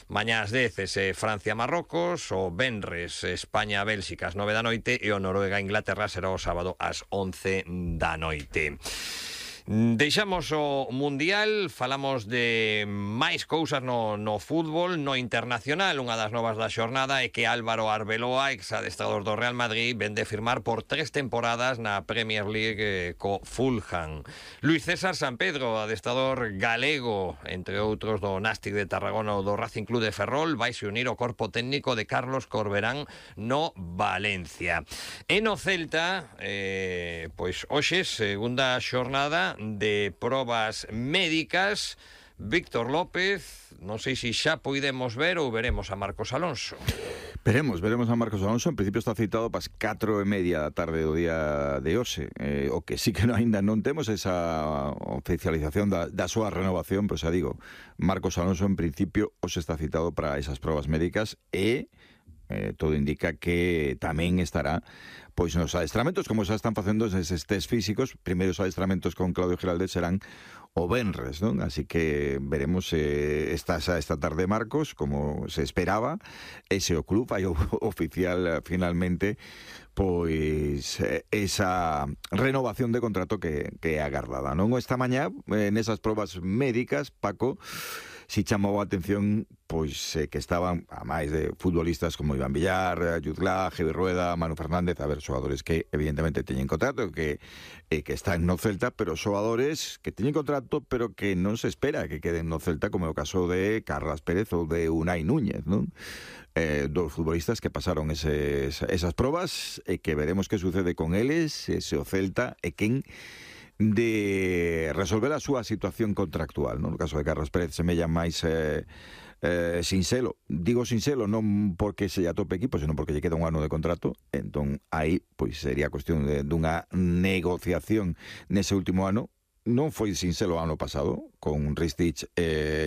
Mañá ás 10 Francia-Marrocos, o venres España-Bélxica ás 9 da noite e o Noruega-Inglaterra será o sábado ás 11 da noite. Deixamos o Mundial, falamos de máis cousas no fútbol, no internacional. Unha das novas da xornada é que Álvaro Arbeloa, ex-adestrador do Real Madrid, vende firmar por 3 temporadas na Premier League co Fulham. Luís César Sampedro, adestrador galego, entre outros do Nástic de Tarragona ou do Racing Club de Ferrol, vai se unir ao corpo técnico de Carlos Corberán no Valencia. E no Celta, pois hoxe, segunda xornada de probas médicas. Víctor López, non sei se xa poidemos ver ou veremos a Marcos Alonso. Veremos a Marcos Alonso. En principio está citado para as 4:30 da tarde do día de hoxe. O que sí que aínda non temos esa oficialización da súa renovación, pero xa digo, Marcos Alonso en principio hoxe está citado para esas probas médicas e todo indica que tamén estará pois nos adestramentos, como xa están facendo eses test físicos. Primeiros adestramentos con Claudio Giraldez serán o venres, non? Así que veremos esta tarde Marcos, como se esperaba, ese o club vai oficial finalmente pois esa renovación de contrato que é agardada, non? Esta mañá, nesas probas médicas, Paco, si chamou a atención pois que estaban, a máis de futbolistas como Iván Villar, Jutglá, Javi Rueda, Manu Fernández, a ver, xogadores que evidentemente teñen contrato, que están no Celta, pero xogadores que teñen contrato, pero que non se espera que queden no Celta, como é o caso de Carlas Pérez ou de Unai Núñez, non? Dos futbolistas que pasaron esas probas e que veremos que sucede con eles, se o Celta e quen de resolver a súa situación contractual, non? No caso de Carlos Pérez semella máis sinxelo. Digo sinxelo non porque se lle atope equipo, senón porque lle queda un ano de contrato. Entón aí pois sería cuestión dunha negociación nese último ano. Non foi sinxelo o ano pasado con Ristich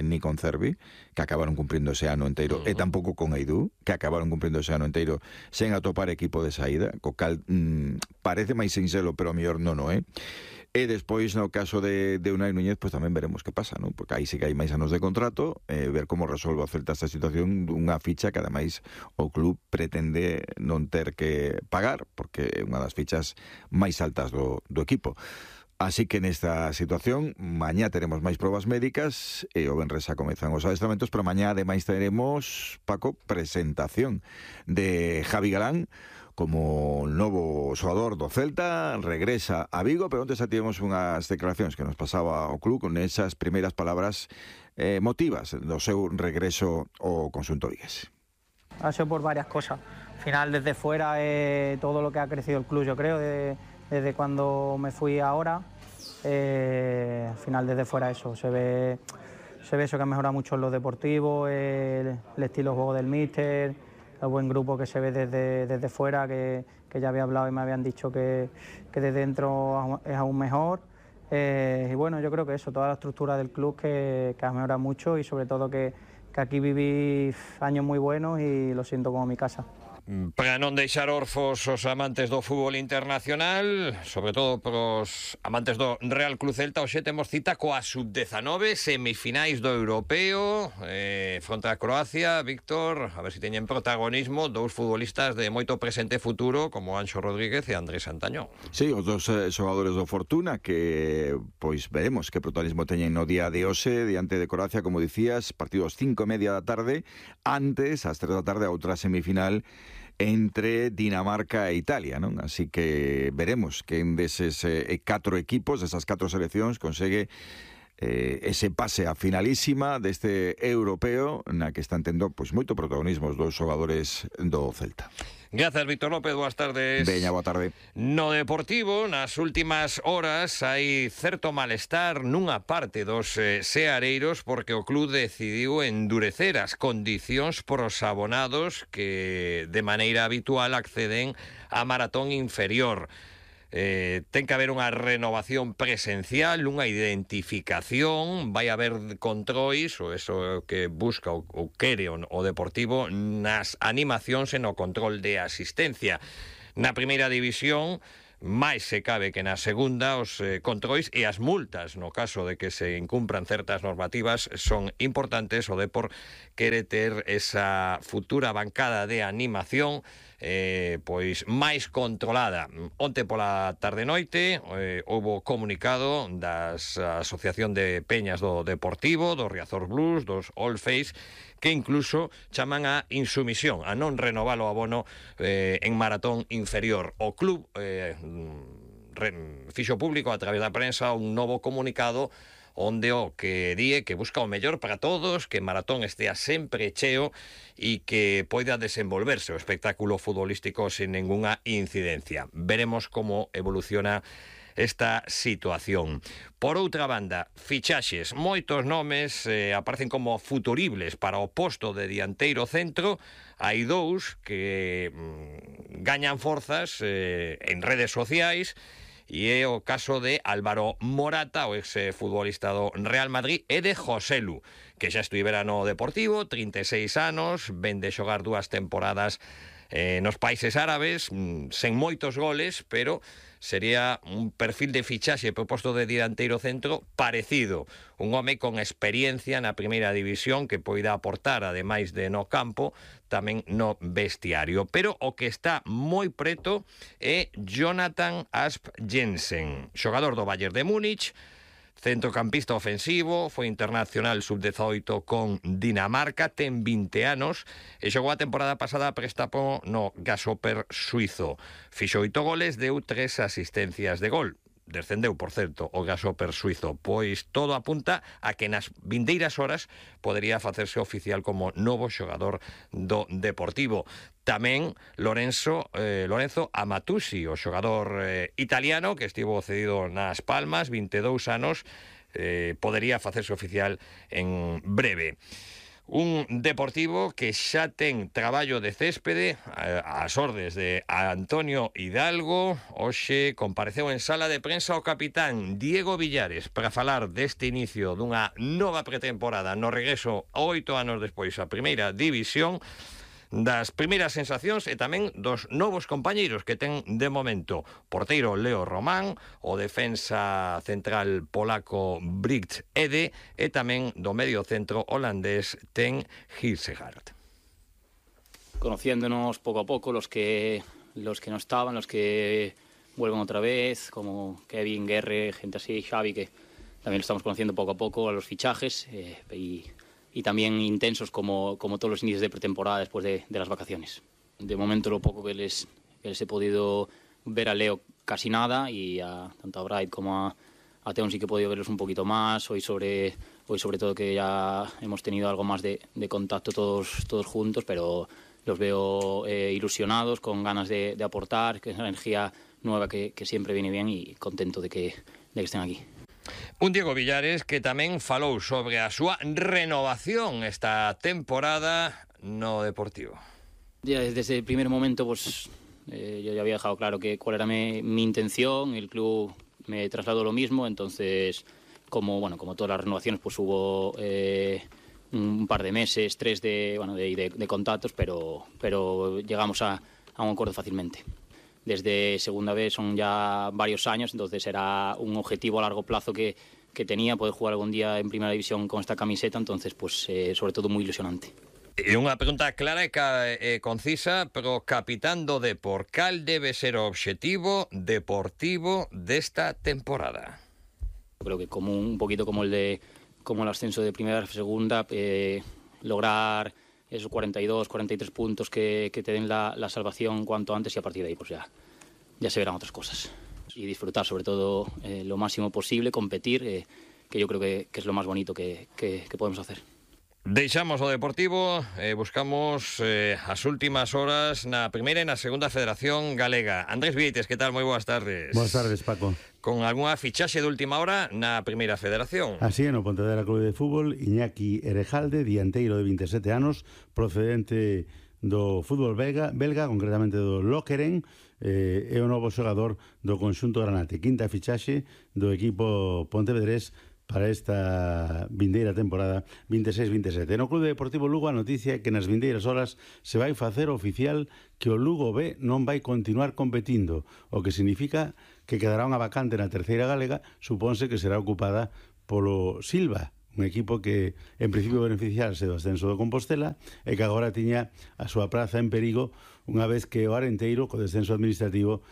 ni con Cervi, que acabaron cumprindo ese ano inteiro, e tampouco con Eidú, que acabaron cumprindo ese ano inteiro sen atopar equipo de saída, co cal parece máis sinxelo, pero a mellor non é. E despois, no caso de Unai Núñez, pues tamén veremos que pasa, non? Porque aí sí que hai máis anos de contrato, ver como resolve o Celta esta situación dunha ficha que ademais o club pretende non ter que pagar, porque é unha das fichas máis altas do equipo. Así que nesta situación, mañá teremos máis probas médicas e o venres xa comezan os adestramentos, pero mañá ademais teremos, Paco, presentación de Javi Galán como novo xogador do Celta. Regresa a Vigo, pero antes xa tivemos unhas declaracións que nos pasaba o club con esas primeiras palabras motivas do seu regreso ao conxunto vigués. Ha sido por varias cosas. Al final, desde fuera, todo lo que ha crecido el club, yo creo, desde cuando me fui ahora, al final desde fuera eso, se ve eso que ha mejorado mucho en lo deportivo, el estilo de juego del míster, el buen grupo que se ve desde fuera, que ya había hablado y me habían dicho que desde dentro es aún mejor. Y bueno, yo creo que eso, toda la estructura del club que ha mejorado mucho y sobre todo que aquí viví años muy buenos y lo siento como mi casa. Para non deixar orfos os amantes do fútbol internacional, sobre todo pros amantes do Real Club Celta, hoxe temos cita coa sub-19, semifinais do Europeo, fronte a Croacia. Víctor, a ver se teñen protagonismo dous futbolistas de moito presente e futuro, como Anxo Rodríguez e Andrés Santañón. Sí, os dos xogadores do Fortuna, que pois veremos que protagonismo teñen no día de hoxe diante de Croacia, como dicías, partidos 5:30 da tarde, antes, ás 3 da tarde, a outra semifinal entre Dinamarca e Italia, non? Así que veremos quen deses 4 equipos, desas 4 seleccións, consegue ese pase a finalísima deste europeo na que están tendo pois moito protagonismo os dous xogadores do Celta. Grazas, Víctor López, boas tardes. Veña, boa tarde. No Deportivo, nas últimas horas, hai certo malestar nunha parte dos seareiros porque o club decidiu endurecer as condicións pros abonados que de maneira habitual acceden á maratón inferior. Ten que haber unha renovación presencial, unha identificación, vai haber controis, ou eso é o que busca ou quere o Deportivo nas animacións e no control de asistencia. Na primeira división máis se cabe que na segunda, os controis e as multas no caso de que se incumpran certas normativas son importantes. O Depor quere ter esa futura bancada de animación pois máis controlada. Onte pola tarde-noite houbo comunicado das Asociación de Peñas do Deportivo, do Riazor Blues, dos Old Face, que incluso chaman a insumisión, a non renovar o abono en maratón inferior. O club fixo público a través da prensa un novo comunicado onde o que di que busca o mellor para todos, que Maratón estea sempre cheo e que poida desenvolverse o espectáculo futbolístico sin ninguna incidencia. Veremos como evoluciona esta situación. Por outra banda, fichaxes. Moitos nomes aparecen como futuribles para o posto de dianteiro centro. Hai dous que gañan forzas en redes sociais, e é o caso de Álvaro Morata, o ex-futbolista do Real Madrid, e de Joselu, que xa estivera no Deportivo, 36 anos, ven de xogar 2 temporadas nos países árabes, sen moitos goles, pero sería un perfil de fichaxe proposto de dianteiro centro parecido. Un home con experiencia na primeira división que poida aportar, ademais de no campo, tamén no vestiario. Pero o que está moi preto é Jonathan Asp Jensen, xogador do Bayern de Múnich, centrocampista ofensivo, foi internacional sub-18 con Dinamarca, ten 20 anos e xogou a temporada pasada a préstamo no Grasshopper suizo. Fixo 8 goles, deu 3 asistencias de gol. Descendeu, por certo, o Grasshopper suizo. Pois todo apunta a que nas vindeiras horas podería facerse oficial como novo xogador do Deportivo. Tamén Lorenzo Amatusi, o xogador italiano que estivo cedido nas Palmas, 22 anos, podería facerse oficial en breve. Un Deportivo que xa ten traballo de céspede ás ordes de Antonio Hidalgo. Hoxe compareceu en sala de prensa o capitán Diego Villares para falar deste inicio dunha nova pretemporada no regreso 8 anos despois a primeira división, das primeiras sensacións e tamén dos novos compañeiros que ten de momento porteiro Leo Román, o defensa central polaco Britt Ede e tamén do medio centro holandés Ten Hilsegard. Conociéndonos poco a poco, los que no estaban, los que vuelven otra vez, como Kevin, Guerre, gente así, Xavi, que también lo estamos conociendo poco a poco a los fichajes y también intensos como todos los inicios de pretemporada después de las vacaciones. De momento lo poco que les he podido ver a Leo casi nada y tanto a Bright como a Teon sí que he podido verlos un poquito más. Hoy sobre todo que ya hemos tenido algo más de contacto todos juntos, pero los veo ilusionados, con ganas de aportar, que es una energía nueva que siempre viene bien y contento de que estén aquí. Un Diego Villares que tamén falou sobre a súa renovación esta temporada no Deportivo. Ya desde el primer momento pues yo ya había dejado claro cuál era mi intención. El club me trasladó lo mismo, entonces como todas las renovaciones pues hubo un par de meses, 3 de contactos, pero llegamos a un acuerdo fácilmente. Desde segunda vez son ya varios años, entonces era un objetivo a largo plazo que tenía, poder jugar algún día en primera división con esta camiseta, entonces pues sobre todo muy ilusionante. E unha pregunta clara e concisa, pero capitán do Depor, cal debe ser o obxectivo deportivo desta temporada? Creo que como un poquito como el ascenso de primera a segunda, lograr esos 42, 43 puntos que te den la salvación cuanto antes, y a partir de ahí pues ya se verán otras cosas. Y disfrutar sobre todo lo máximo posible, competir, que yo creo que es lo más bonito que podemos hacer. Deixamos o Deportivo, buscamos as últimas horas na primeira e na segunda Federación Galega. Andrés Vieites, que tal? Moi boas tardes. Boas tardes, Paco. Con algunha fichaxe de última hora na primeira Federación. Así é, no Pontevedra Clube de Fútbol, Iñaki Erejalde, dianteiro de 27 anos, procedente do fútbol belga, concretamente do Lokeren, é o novo xogador do conxunto Granate. Quinta fichaxe do equipo pontevedrés para esta vindeira temporada 26-27. No Clube Deportivo Lugo a noticia é que nas vindeiras horas se vai facer oficial que o Lugo B non vai continuar competindo, o que significa que quedará unha vacante na terceira galega, supónse que será ocupada polo Silva, un equipo que en principio beneficiarse do ascenso do Compostela e que agora tiña a súa praza en perigo unha vez que o Arenteiro, co descenso administrativo,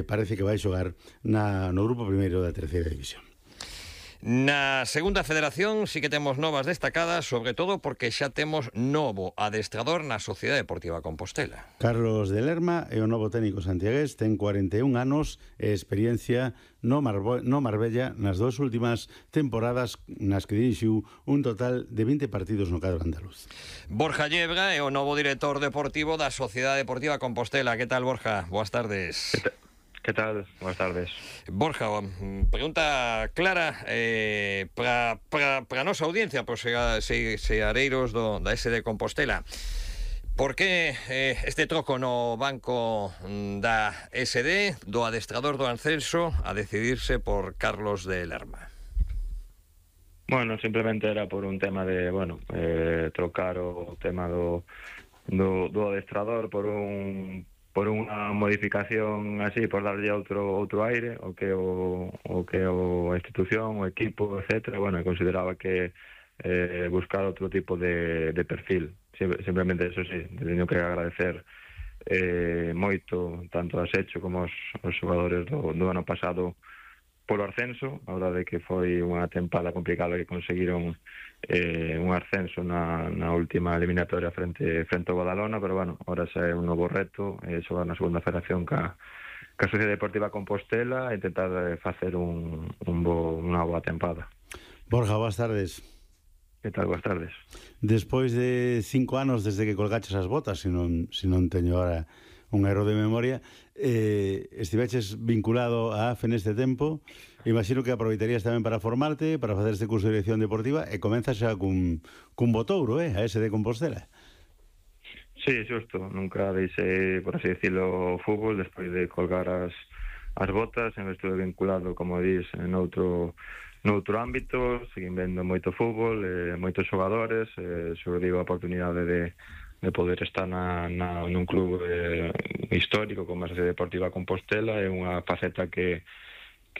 parece que vai xogar no grupo primeiro da terceira división. Na segunda federación sí que temos novas destacadas, sobre todo porque xa temos novo adestrador na Sociedade Deportiva Compostela. Carlos de Lerma é o novo técnico santiagués, ten 41 anos e experiencia no Marbella nas duas últimas temporadas nas que dirixiu un total de 20 partidos no cadro andaluz. Borja Llebra é o novo director deportivo da Sociedade Deportiva Compostela. Que tal, Borja? Boas tardes. ¿Qué tal? Buenas tardes. Borja, pregunta clara para a nosa audiencia, para os seareiros da SD Compostela. Por que este troco no banco da SD, do adestrador do ascenso, a decidirse por Carlos de Lerma? Bueno, simplemente era por un tema de, trocar o tema do adestrador por unha modificación así, por darlle outro aire o que a institución, o equipo, etcétera. Bueno, consideraba que buscar outro tipo de perfil. Simplemente eso sí, teño que agradecer moito tanto a Secho como os xogadores do ano pasado polo ascenso. A verdade é que foi unha tempada complicada que conseguiron un ascenso na última eliminatoria frente ao Badalona, pero bueno, ahora xa é un novo reto, xogar na segunda federación ca Sociedade Deportiva Compostela e intentar facer unha boa tempada. Borja, boas tardes. Que tal? Boas tardes. Despois de 5 anos desde que colgaches as botas, se non teño ahora un erro de memoria, estiveches vinculado a AFE neste tempo. Imagino que aproveitarías tamén para formarte, para facer este curso de dirección deportiva, e comenzas xa cun botouro, a ese de Compostela. Sí, xusto. Nunca deixei, por así decirlo, o fútbol despois de colgar as botas. Sempre estuve vinculado, como dís, noutro ámbito. Seguín vendo moito fútbol, moitos xogadores, sobre digo a oportunidade de poder estar nun club histórico como a Sociedade Deportiva Compostela. É unha faceta que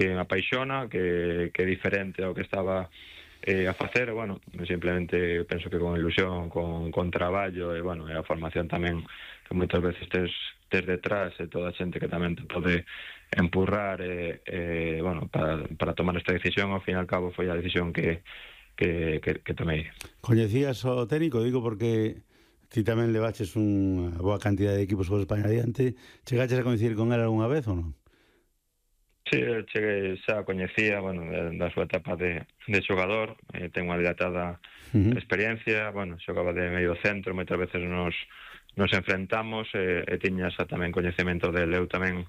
me apaixona, que é diferente ao que estaba a facer. Bueno, simplemente penso que con ilusión, con traballo e a formación tamén, que moitas veces tes detrás, e toda a xente que tamén te pode empurrar para tomar esta decisión. Ao fin e al cabo foi a decisión que tomei. Coñecías o técnico? Digo porque ti tamén levaches unha boa cantidad de equipos por España adiante. Chegaches a coincidir con él algunha vez ou non? Sí, cheguei, xa coñecía, da súa etapa de xogador. Ten unha dilatada experiencia. Xogaba de medio centro, moitas veces nos enfrentamos, e tiña xa tamén coñecemento del. Eu tamén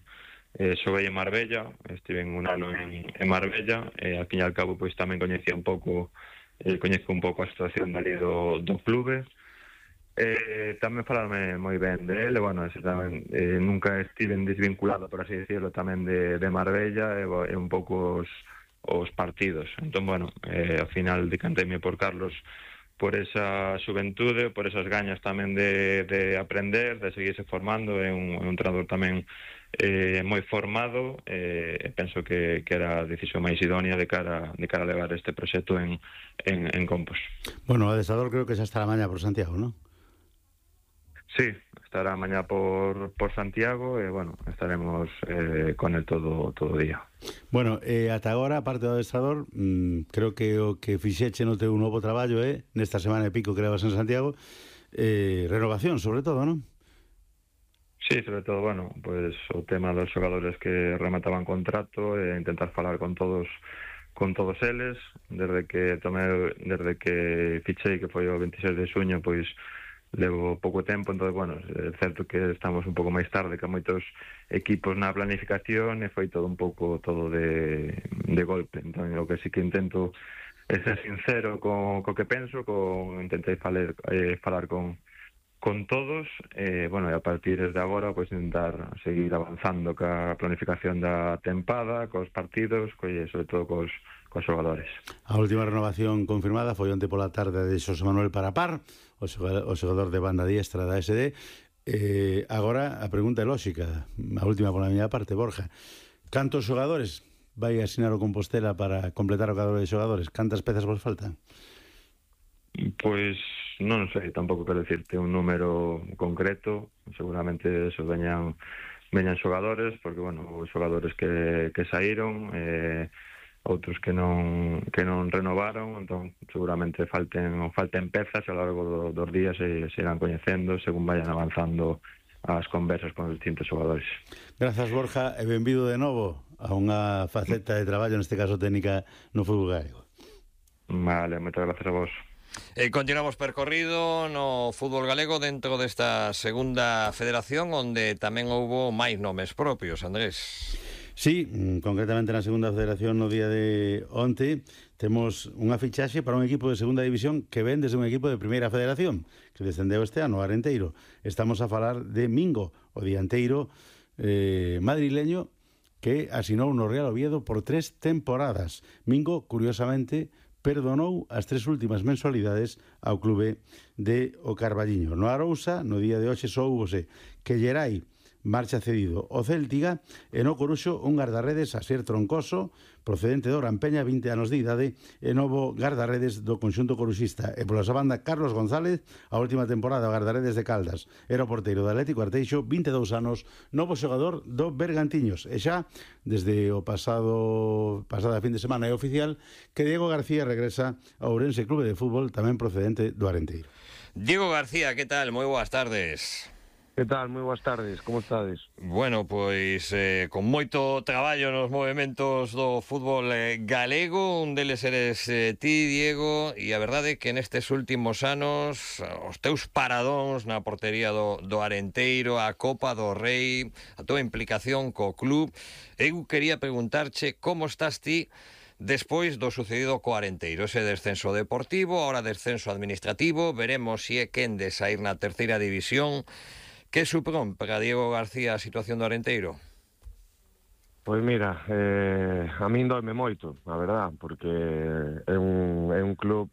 xoguei en Marbella, estive un ano en Marbella, e ao fin e al cabo pois tamén coñezo un pouco a situación dali do clube. Tamén falarme moi ben de él, tamén, nunca estiven desvinculado, por así decirlo, tamén de Marbella e un pouco os partidos. Entón, ao final decanteime por Carlos por esa xuventude, por esas gañas tamén de aprender, de seguirse formando. É un entrenador tamén moi formado, e penso que era a decisión máis idónea de cara a levar este proxecto en Compos. Bueno, o adestrador creo que xa estará mañá por Santiago, non? Sí, estará mañá por Santiago e, estaremos con el todo o día. Bueno, ata agora, aparte do adestrador, creo que o que fixeche no teu novo traballo nesta semana e pico que levas en Santiago, renovación, sobre todo, non? Sí, sobre todo, pues o tema dos xogadores que remataban contrato, e intentar falar con todos eles, desde que fichei, que foi o 26 de xuño, pois levo pouco tempo. Entón, é certo que estamos un pouco máis tarde que moitos equipos na planificación, e foi todo un pouco de golpe. Entón, o que sí que intento é ser sincero co que penso, intentei falar con todos, e a partir de agora pois intentar seguir avanzando ca planificación da tempada, cos partidos, sobre todo cos xogadores. A última renovación confirmada foi onte pola tarde de Xosé Manuel Parapar, o xogador de banda diestra da SD. Agora a pregunta é lóxica, a última pola miña parte, Borja. Cantos xogadores vai asinar o Compostela para completar o cadro de xogadores? Cantas pezas vos faltan? Pois non sei, tampouco quero dicirte un número concreto. Seguramente eso veñan xogadores, porque, bueno, os xogadores que saíron, outros que non renovaron, entón seguramente falten pezas, e ao largo dos días se irán coñecendo según vayan avanzando as conversas con os distintos xogadores. Grazas, Borja, e benvido de novo a unha faceta de traballo, neste caso técnica, no fútbol galego. Vale, moitas gracias a vos. Continuamos percorrido no fútbol galego dentro desta segunda federación, onde tamén houbo máis nomes propios, Andrés. Sí, concretamente na segunda federación no día de onte temos unha fichaxe para un equipo de segunda división que ven desde un equipo de primeira federación que descendeu este ano, Arenteiro. Estamos a falar de Mingo, o dianteiro madrileño que asinou no Real Oviedo por 3 temporadas. Mingo, curiosamente, perdonou as 3 últimas mensualidades ao clube de O Carballiño. No Arousa, no día de hoxe, soubose que Gerai marcha cedido o Céltiga, e no Coruxo un guardarredes, Asier Troncoso, procedente do Orampeña, 20 anos de idade, e novo guardarredes do conxunto coruxista. E pola banda, Carlos González, a última temporada o guardarredes de Caldas, era o porteiro do Atlético Arteixo, 22 anos, novo xogador do Bergantiños. E xa, desde o pasada fin de semana é oficial que Diego García regresa ao Ourense Clube de Fútbol, tamén procedente do Arenteiro. Diego García, que tal? Moi boas tardes. Que tal? Moi boas tardes, como estades? Bueno, pois con moito traballo nos movementos do fútbol galego, un deles eres ti, Diego, e a verdade é que nestes últimos anos os teus paradóns na portería do Arenteiro, a Copa do Rei, a tua implicación co club, eu quería preguntarche como estás ti despois do sucedido co Arenteiro, ese descenso deportivo, ahora descenso administrativo, veremos se é quen de sair na terceira división. Que supón para Diego García a situación do Arenteiro? Pois mira, a min doime moito, a verdad, porque é un club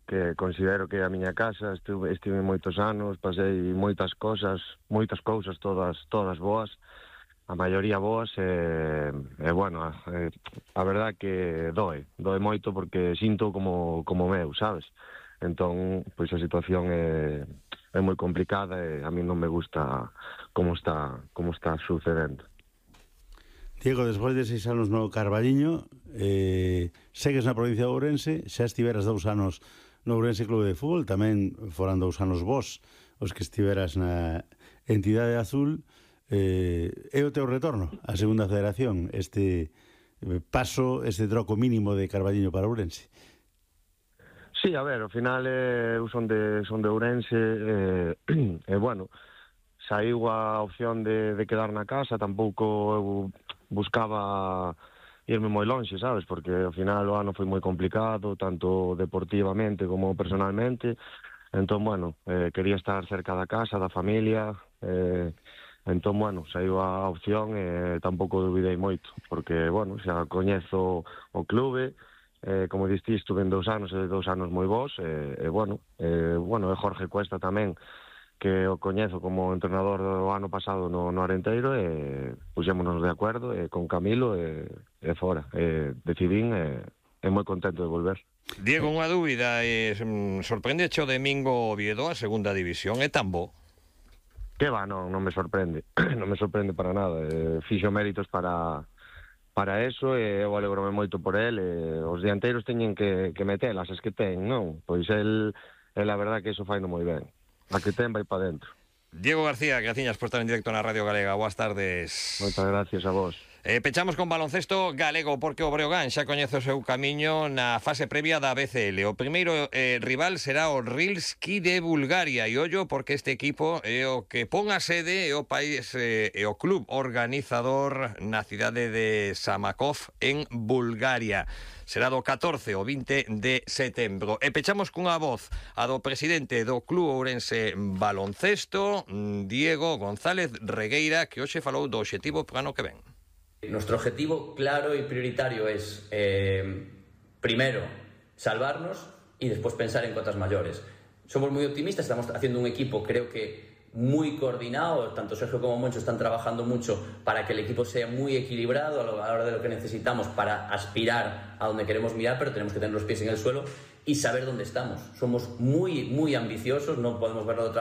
que considero que é a miña casa, estive moitos anos, pasei moitas cousas, todas boas, a maioría boas, e bueno, a verdad que doe moito porque sinto como meu, sabes? Entón, pois a situación é moi complicada e a mí non me gusta como está sucedendo. Diego, despois de 6 anos no Carballiño, segues na provincia de Ourense, xa estiveras 2 anos no Ourense Clube de Fútbol, tamén foran 2 anos vos os que estiveras na entidade azul. É o teu retorno á segunda federación, este paso, este troco mínimo de Carballiño para Ourense? Sí, a ver, ao final eu son de Ourense e bueno, saiu a opción de quedar na casa, tampouco eu buscaba irme moi lonxe, sabes, porque ao final o ano foi moi complicado, tanto deportivamente como personalmente, entón, bueno, quería estar cerca da casa, da familia, entón, bueno, saiu a opción e tampouco duvidei moito, porque, bueno, xa coñezo o clube, como diste, estuve en 2 anos e 2 anos moi bons, e Jorge Cuesta tamén, que o coñezo como entrenador do ano pasado no Arenteiro, e puxémonos de acordo con Camilo e fora, decidín e moi contento de volver. Diego, unha dúbida, sorprende o domingo Oviedo a segunda división, é tan bo? Que va, non me sorprende, non me sorprende para nada, fixo méritos para eso, e eu alegrome moito por el, e os dianteiros teñen que metelas, as que ten, non? Pois el a verdad que iso faino moi ben, a que ten vai para dentro. Diego García, graciñas por estar en directo na Radio Galega, boas tardes. Moitas gracias a vos. Pechamos con baloncesto galego, porque o Breogán xa coñece o seu camiño na fase previa da BCL. O primeiro rival será o Rilski de Bulgaria, e ollo porque este equipo é o que pon a sede é o país e o club organizador na cidade de Samakov en Bulgaria. Será do 14 ao 20 de setembro. E pechamos cunha voz, a do presidente do Club Ourense Baloncesto, Diego González Regueira, que hoxe falou do obxectivo para ano que ven. Nuestro objetivo claro y prioritario es primero salvarnos y después pensar en cotas mayores. Somos muy optimistas, estamos haciendo un equipo, creo que muy coordinado, tanto Sergio como Moncho están trabajando mucho para que el equipo sea muy equilibrado a la hora de lo que necesitamos para aspirar a donde queremos mirar, pero tenemos que tener los pies en el suelo y saber dónde estamos. Somos muy, muy ambiciosos, no podemos verlo de otra manera.